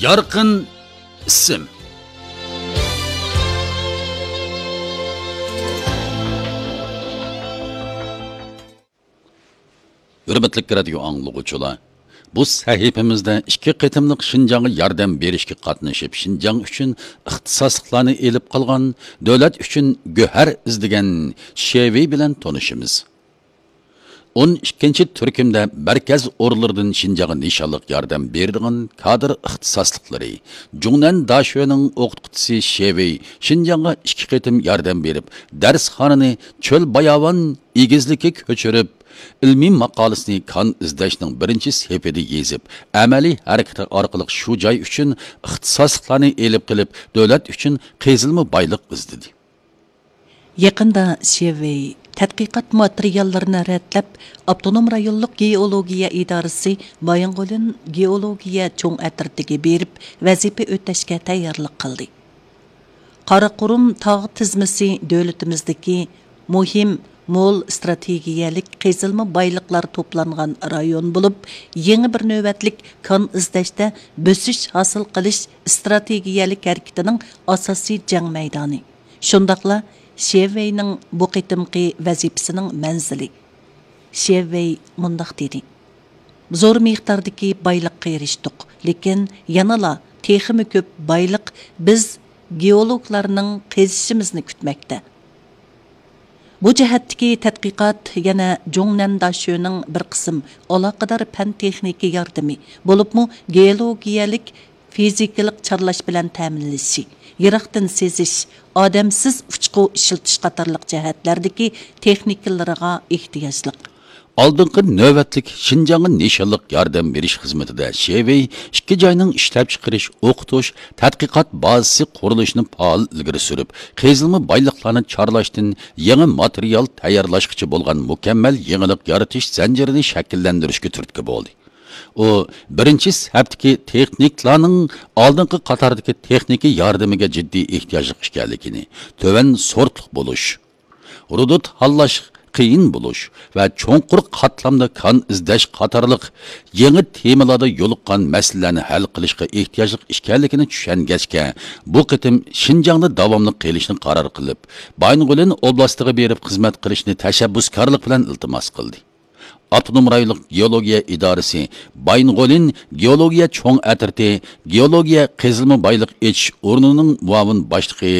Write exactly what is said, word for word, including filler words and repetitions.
يارقىن ئىسىم. ھۆرمەتلىك رادىيو ئاڭلىغۇچىلار، بۇ سەھىپىمىزدە ئىككى قېتىملىق شىنجاڭغا ياردەم بېرىشكە قاتنىشىپ، شىنجاڭ ئۈچۈن ئىختىساسلىقلارنى ئېلىپ قالغان، دۆلەت ئۈچۈن گۆھەر ئىزدىگەن شېۋېي بىلەن تونۇشىمىز. ئون ئىككىنچى تۈركۈمدە مەركەز ئورۇنلىرىدىن شىنجاڭغا نىشانلىق ياردەم بېرىدىغان كادىر ئىختىساسلىقلىرى، جۇڭنەن داشۆنىڭ ئوقۇتقۇچىسى شېۋېي شىنجاڭغا ئىككى قېتىم ياردەم بېرىپ، دەرسخانىنى چۆل باياۋان ئېگىزلىككە كۆچۈرۈپ، ئىلمىي ماقالىسىنى كان ئىزدەشنىڭ بىرىنچى سېپىدە يېزىپ، ئەمەلىي ھەرىكىتى ئارقىلىق شۇ جاي ئۈچۈن ئىختىساسلىقلارنى ئېلىپ قېلىپ، دۆلەت ئۈچۈن قېزىلما بايلىق ئىزدىدى. يېقىندا شېۋېي تەتقىقات ماتېرىياللىرىنى رەتلەپ، ئاپتونوم رايونلۇق گېئولوگىيە ئىدارىسى بايىنغولىن گېئولوگىيە چوڭ ئەترىتىگە بېرىپ، ۋەزىپە ئۆتەشكە تەييارلىق قىلدى. قاراقۇرۇم تاغ تىزمىسى دۆلىتىمىزدىكى مۇھىم مول ئىستراتېگىيەلىك قېزىلما بايلىقلار توپلانغان رايون بولۇپ، يېڭى بىر نۆۋەتلىك كان ئىزدەشتە بۆسۈش ھاسىل قىلىش ئىستراتېگىيەلىك ھەرىكىتىنىڭ ئاساسىي جەڭ مەيدانى. شۇنداقلا شېۋېينىڭ بۇ قېتىمقى ۋەزىپىسىنىڭ مەنزىلى. شېۋېي مۇنداق دېدى: زور مىقداردىكى بايلىققا ئېرىشتۇق، لېكىن يەنىلا تېخىمۇ كۆپ بايلىق بىز گېئولوگلارنىڭ قېزىشىمىزنى كۈتمەكتە. بۇ جەھەتتىكى تەتقىقات يەنە جۇڭنەن داشۆنىڭ بىر قىسىم ئالاقىدار پەن تېخنىكا ياردىمى، بولۇپمۇ گېئولوگىيەلىك فىزىكىلىق چارلاش بىلەن تەمىنلىشى، يىراقتىن سېزىش، ئادەمسىز ئۇچقۇ ئىشلىتىش قاتارلىق جەھەتلەردىكى تېخنىكىلىرىغا ئېھتىياجلىق. ئالدىنقى نۆۋەتلىك شىنجاڭغا نىشانلىق ياردەم بېرىش خىزمىتىدە شېۋېي ئىككى جاينىڭ ئىشلەپچىقىرىش، ئوقۇتۇش، تەتقىقات بازىسى قۇرۇلۇشىنى پائال ئىلگىرى سۈرۈپ، قېزىلما بايلىقلارنى چارلاشتىن يېڭى ماتېرىيال تەييارلاشقىچە بولغان مۇكەممەل يېڭىلىق يارىتىش زەنجىرىنى شەكىللەندۈرۈشكە تۈرتكە بولدى. ئۇ بىرىنچى سەپتىكى تېخنىكلارنىڭ ئالدىنقى قاتاردىكى تېخنىكا ياردىمىگە جىددىي ئېھتىياجلىق ئىكەنلىكىنى، تۆۋەن سورتلۇق بولۇش، رۇدۇت ھاللاش قىيىن بولۇش ۋە چوڭقۇر قاتلامدا كان ئىزدەش قاتارلىق يېڭى تېمىلاردا يولۇققان مەسىلىلەرنى ھەل قىلىشقا ئېھتىياجلىق ئىكەنلىكىنى چۈشەنگەچكە، بۇ قېتىم شىنجاڭدا داۋاملىق قېلىشنى قارار قىلىپ، بايىنغولىن ئوبلاستىغا بېرىپ خىزمەت قىلىشنى تەشەببۇسكارلىق بىلەن ئىلتىماس قىلدى. ئاپتونوم رايونلۇق گېئولوگىيە ئىدارىسى بايىنغولىن گېئولوگىيە چوڭ ئەترىتى گېئولوگىيە قېزىلما بايلىق ئېچىش ئورنىنىڭ مۇئاۋىن باشلىقى